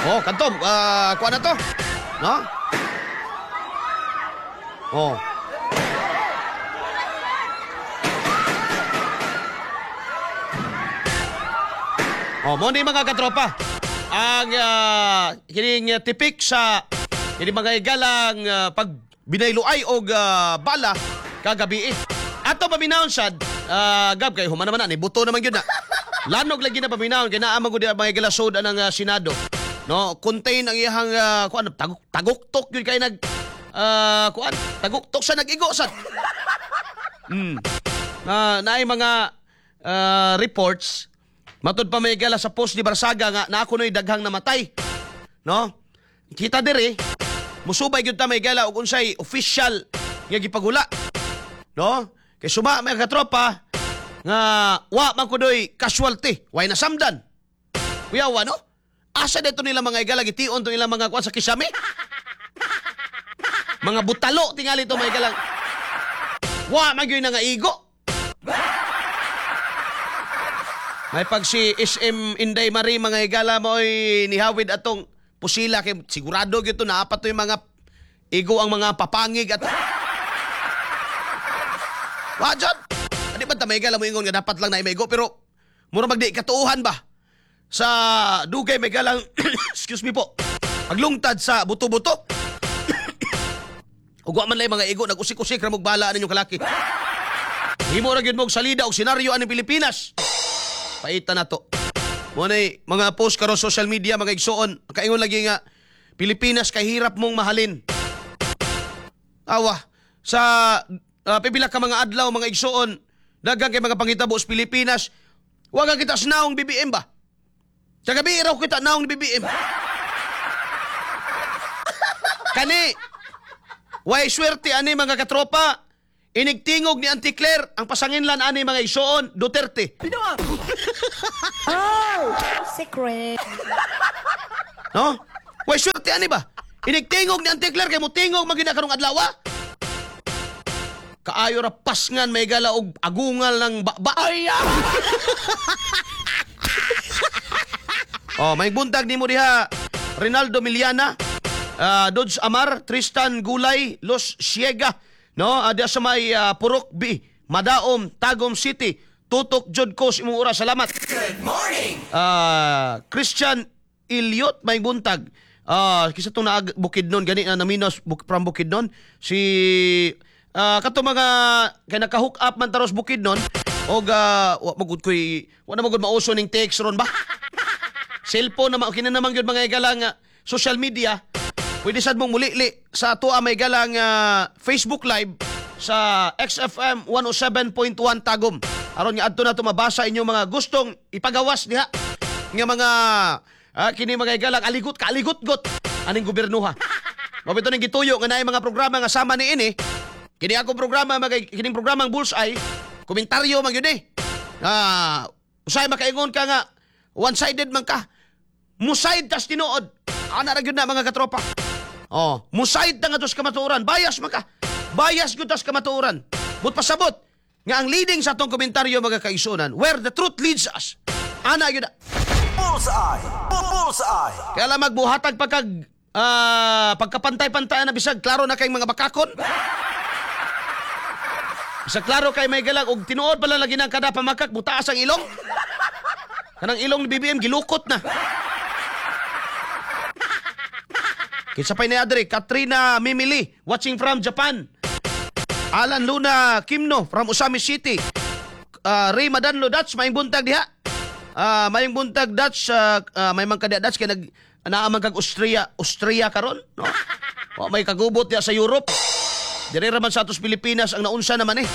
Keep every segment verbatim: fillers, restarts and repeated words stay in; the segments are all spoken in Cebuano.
Oh, kadto, uh, kuha na to. No? Oh. Oh, mo ni mga katropa. Ang uh, kining uh, tipik sa kini mga igalang uh, pag binayluay og uh, bala kagabi. Ato paminawon sad, uh, gab kay human naman na ni buto naman gyud na. Lanog lagi na paminawon kay naa man gud mga igala sud ang uh, Senado. No, contain ang iyang uh, kuan taguk taguktok gyud kay nag uh, kuan taguktok sa nag-igo sad. Mm. Uh, naay mga uh, reports matud pa may gala sa post ni Barsaga nga na ako no'y daghang namatay. No? Kita diri, musubay gyud ta may gala og unsay official nga gipagula. No? Kay suma mga katropa nga wa man kunoy casualty, way nasamdan. Kuyawa no? Asa dito nila mga igala gtion to ilang mga kuan sa kisame? Mga butalo tingali to mga igalang. Wa man gyud nga igo. May pag si S M Inday Marie mga higala mo'y nihawid atong pusila kay sigurado gyud to naapat to yung mga igo ang mga papangig at wa jud. Adi ba ta may higala mo ingon nga dapat lang na maigo pero mura magdi katuohan ba sa dugay may galang excuse me po paglungtad sa buto-buto. Ug wa man lay mga igo nag-usik-usik ra mog bala ninyong kalaki. Himo ra gyud mog salida og senaryo aning Pilipinas. Paita na to. Muna mga post karon social media mga igsuon. Kaingon lagi nga Pilipinas kay hirap mong mahalin. Awa sa uh, pipila ka mga adlaw mga igsuon daghang kay mga pangitabo sa Pilipinas. Wa ka kita sa naong B B M ba? Kagabi raw kita naong B B M. Kani way swerte ani mga katropa. Inigtingog ni Auntie Claire ang pasanginlan ani mga igsuon Duterte. Oh, secret. No? Way swerte ani ba? Inigtingog ni Auntie Claire kay motingog man gyud karong adlaw. Kaayo ra pasngan may gala og agungal ng baba. Ay. Oh, may buntag nimo diha Rinaldo Miliana, uh, Dodge Amar, Tristan Gulay, Los Siega. No, uh, diha sa may uh, Purok B, Madaom, Tagum City. Tutok jud ko sa imong oras. Salamat. Good morning. Uh, Christian Iliot may buntag. Uh, kisa tong naag Bukidnon gani na naminos buk, from Bukidnon si uh, kato mga kay naka-hook up man taros Bukidnon og uh, wa magud koy wa na magud mauso ning text ron ba. Cellphone na kini naman gyud mga igalang uh, social media. Pwede sad mong mulili sa atoa may galang uh, Facebook Live sa X F M one oh seven point one Tagum. Aron nga adto na to mabasa inyong mga gustong ipagawas diha nga mga uh, kini mga igalang aligot kaaligot-got aning gobernoha. Mabito ning gituyo nga naay mga programa nga sama ni ini. Kini akong programa mga kining programang Bullseye, komentaryo man gyud eh. Ah, usay makaingon ka nga one-sided man ka. Muside tas tinuod. Ana ra gyud na mga katropa. Oh, musayid ta nga tos kamatuoran, bias man ka. Bias gyud tas kamatuoran. But pasabot nga ang leading sa atong komentaryo mga kaigsuonan, where the truth leads us. Ana gyud na. Bullseye. Bullseye. Kaya lang magbuhatag pagkag uh, pagkapantay-pantay na bisag klaro na kay mga bakakon. Bisag klaro kay may galag og tinuod pala lagi nang kada pamakak butaas ang ilong. Kanang ilong ni B B M gilukot na. Kinsa pa'y ni Adre, Katrina Mimili, watching from Japan. Alan Luna Kimno from Usami City. Uh, Ray Madanlo Dutch, maayong buntag diha. Uh, maayong buntag Dutch, uh, uh, may man ka Dutch kay nag naaman kag Austria, Austria karon, no? Wa may kagubot diha sa Europe. Dire ra man sa atos Pilipinas ang naunsa naman eh.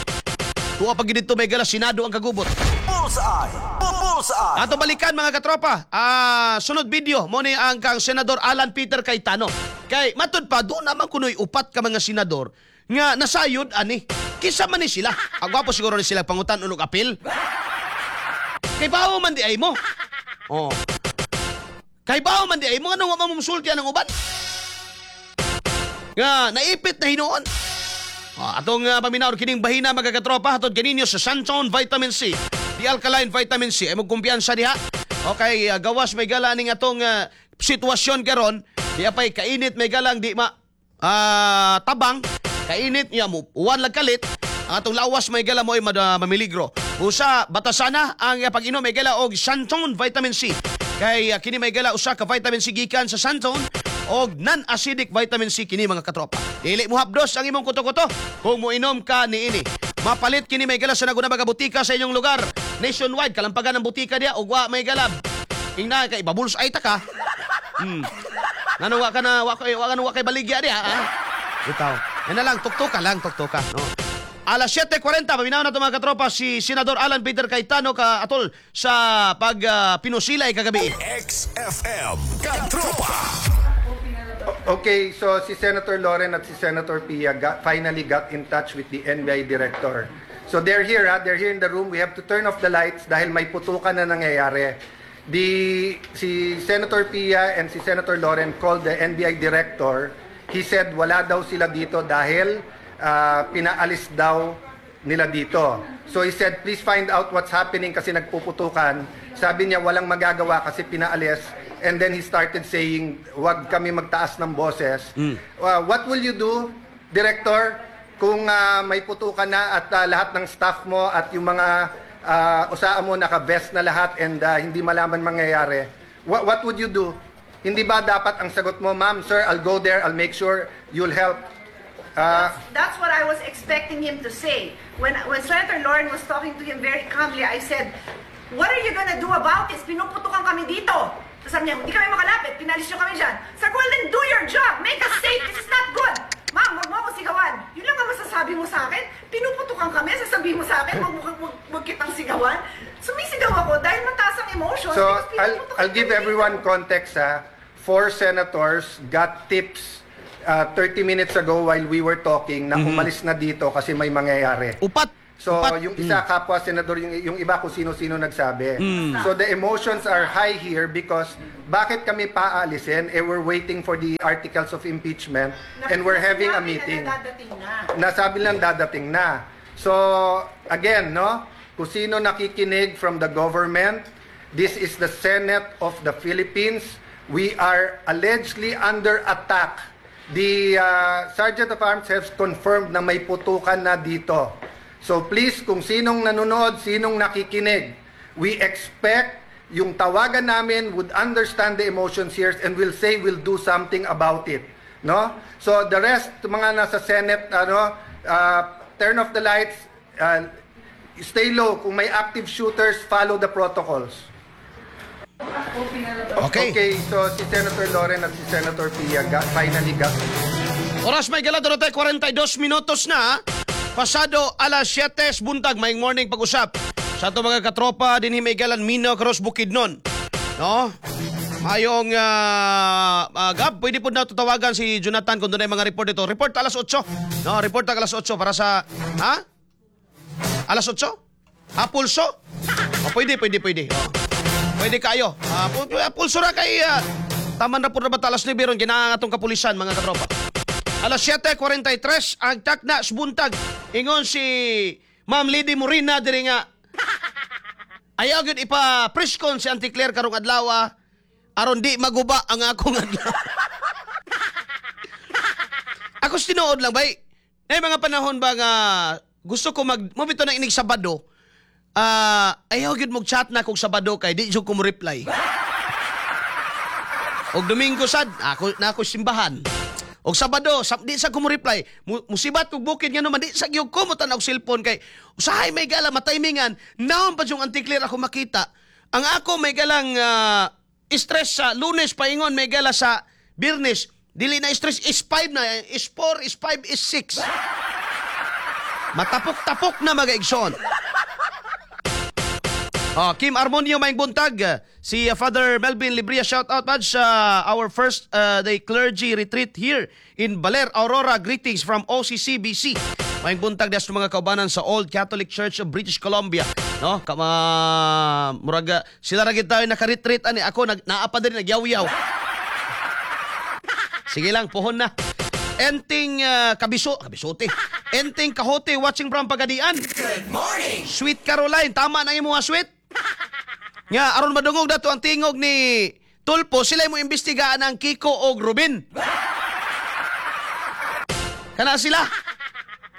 Tuwa pag didto may gala Senado ang kagubot. Bullseye. Bullseye. Ato balikan mga katropa. Ah, sunod video mo ni ang kang Senador Alan Peter Cayetano. Kay matud pa do naman kunoy upat ka mga senador nga nasayod ani. Kinsa man ni sila? Ang gwapo siguro ni sila pangutan unog apil. Kay bawo man di ay mo. Oh. Kay bawo man di ay mo nganong wa man mosulti ang uban? Nga naipit na hinuon. Oh, atong uh, paminaw kining bahina mga katropa hatod kaninyo sa Santon Vitamin C. The Alkaline Vitamin C ay magkumpiyansa diha. Okay, uh, gawas may gala ning atong uh, sitwasyon karon, di apay kainit may galang di ma ah, tabang, kainit niya mo uwan lang kalit, ang atong lawas may gala mo ay mad- ah, mamiligro. Usa batasana ang pag-inom may gala og Xanthone Vitamin C. Kay ah, kini may gala usa ka vitamin C gikan sa Xanthone og non-acidic vitamin C kini, mga katropa. Dili mo hapdos ang imong kuto-kuto kung moinom ka niini. Mapalit kini may gala sa naguna mga butika sa inyong lugar. Nationwide kalampagan ang butika diya ug wa may galab. Ingna kay babuls ay ta ka. Hmm. Ngano wa ka na wa kay wa ka wa kay baligya diha ha? Ikaw. Yan na lang, tuktuka lang, tuktuka. No. Alas siyete kwarenta, paminaw na ito, mga katropa, si Senador Alan Peter Cayetano ka atol sa pag uh, pinusilay kagabi. X F M Katropa. Okay, so si Senator Loren at si Senator Pia got, finally got in touch with the N B I director. So they're here, ha? They're here in the room. We have to turn off the lights dahil may putukan na nangyayari. The, si Senator Pia and si Senator Loren called the N B I director. He said wala daw sila dito dahil ah, pinaalis daw nila dito. So he said, "Please find out what's happening kasi nagpuputukan." Sabi niya walang magagawa kasi pinaalis. And then he started saying, "Wag kami magtaas ng boses." Uh, what will you do, Director, kung ah, may putukan na at ah, lahat ng staff mo at yung mga uh, O S A A mo naka-vest na lahat and ah, hindi malaman mangyayari? What, what would you do? Hindi ba dapat ang sagot mo, "Ma'am, sir, I'll go there, I'll make sure you'll help"? Ah, That's what I was expecting him to say. When, when Senator Loren was talking to him very calmly, I said, "What are you gonna do about this? Pinuputukan kami dito." Tapos sabi niya, "Hindi kami makalapit, pinalis niyo kami dyan." Sabi ko, "Well then do your job, make us safe, this is not good." "Ma'am, wag mo ako sigawan." Yun lang ang masasabi mo sa akin? Pinuputukan kami, sasabihin mo sa akin, wag, mo, wag, wag kitang sigawan. Sumisigaw ako dahil mataas ang emotions So, because I'll, pinuputukan I'll give kami dito. Everyone context, ha. Four senators got tips uh, thirty minutes ago while we were talking na umalis na dito kasi may mangyayari. Upat. So, Upat. yung isa kapwa senador, yung, yung iba kung sino-sino nagsabi. So, the emotions are high here because bakit kami paalisin? Eh, we're waiting for the articles of impeachment and we're having a Sinabi na meeting. Dadating na. Nasabi lang dadating na. So, again, no? Kung sino nakikinig from the government, this is the Senate of the Philippines. We are allegedly under attack. The uh, Sergeant of Arms has confirmed na may putukan na dito. So please, kung sinong nanonood, sinong nakikinig, we expect yung tawagan namin would understand the emotions here and will say we'll do something about it. No? So the rest, mga nasa Senate, ano, uh, turn off the lights, uh, stay low. Kung may active shooters, follow the protocols. Okay. Okay, so si Senator Loren at si Senator Pia got, finally got Oras may gala tayo kwarenta y dos minutos na. Pasado alas siyete buntag, may morning pag-usap. Sa ato mga katropa dinhi may galan Mino Cross Bukidnon. No? Mayong uh, uh, Gab, pwede po na tatawagan si Jonathan kung doon ay mga report dito. Report alas otso. No, report alas otso para sa, ha? Alas otso? Ah, pulso? Oh, pwede, pwede, pwede. Oh. Pwede kayo. Ah, pu- pu- pulso ra kay uh, taman ra po na ba alas nuwebe ron ginaang atong kapulisan, mga katropa. Alas siyete kwarenta y tres ang takna buntag. Ingon si Ma'am Lady Morina diri nga ayaw gyud ipa presscon si Auntie Claire karong adlaw aron di maguba ang akong adlaw. Ako sa tinuod lang bay. Nay mga panahon ba nga gusto ko mag mo bitaw na inig Sabado. Ah, ayaw gyud mo chat na kog Sabado kay di jud ko mo reply. Og Domingo sad, ako na ako simbahan. Og Sabado, sa, di sa ko mo reply. Mu, musibat kog bukid nga naman di sa gyud ko mo tan-aw og cellphone kay usahay may gala mataymingan naon pa yung Auntie Claire ako makita. Ang ako may galang ah, stress sa Lunes paingon may gala sa Biyernes. Dili na stress is five na, is four, is five, is six. Matapok-tapok na, mga igsoon. Oh, Kim Armonio, maayong buntag. Si uh, Father Melvin Libria, shout out man sa our first uh, day clergy retreat here in Baler, Aurora. Greetings from O C C B C. Maayong buntag des mga kaubanan sa Old Catholic Church of British Columbia. No, kama muraga sila ra gid tayo naka-retreat ani, ako nag naa pa diri nagyaw-yaw. Sige lang, puhon na. Enting uh, kabiso, kabisote. Enting Kahote watching from Pagadian. Good morning. Sweet Caroline, tama na imo nga sweet. Nga aron madungog dato ang tingog ni Tulfo, sila mo imbestigaan ang Kiko og Ruben. Kana sila.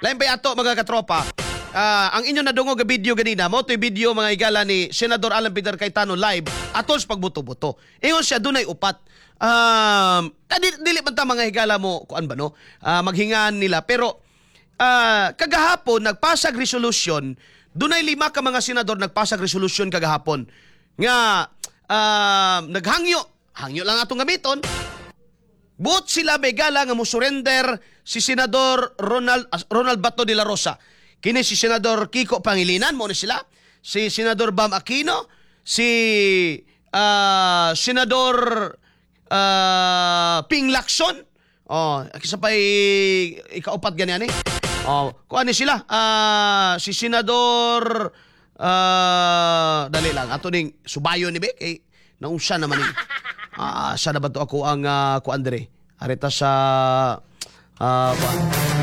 Lain pa ato, mga katropa. Ah, ang inyo nadungog nga video ganina, mao to'y video, mga higala, ni Senador Alan Peter Cayetano live atol sa pagbuto-buto. Ingon siya dunay upat. Um, dili, dili man ta, mga higala, mo kuan ba no? Ah, maghingan nila pero ah, kagahapon nagpasag resolution, dunay lima ka mga senador nagpasag resolution kagahapon nga ah, naghangyo, hangyo lang atong gamiton. Buot sila megala nga mo surrender si Senador Ronald ah, Ronald Bato de la Rosa. Kini si Senador Kiko Pangilinan mo ni sila, si Senador Bam Aquino, si ah, Senador ah, Ping Lacson. Oh, kisa pa ikaupat ganyan eh. Oh, kuan ni sila, ah, si Senador ah, dali lang ato ning subayon ni be kay naunsa naman ni. Ah, sa na ba to ako ang uh, kuan dire? Arita sa ah kuan.